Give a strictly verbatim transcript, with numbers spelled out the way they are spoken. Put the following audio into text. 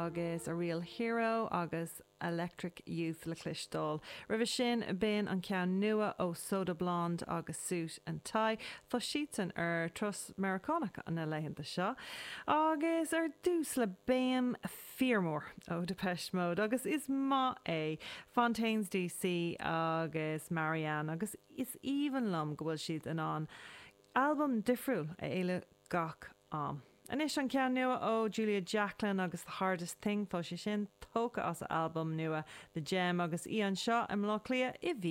agus a Real Hero agus Electric Youth le cloisteáil. Roimhe sin b'in an ceann nua ó Soda Blonde agus Suit and Tie Tá siadsan ar turas Meiriceánach na laethanta seo. Agus ar dtús le béim fíormhór ó Depeche Mode agus is maith é Fontaines DC agus Marianne agus is aoibhinn liom go bhfuil siad in ann albam difriúil a éile gach am. Anois an ceann nua ó Julia Jacklin agus The Hardest Thing tá sé sin tógtha as albam nua The Gem agus í anseo i mBleá Cliath i mhí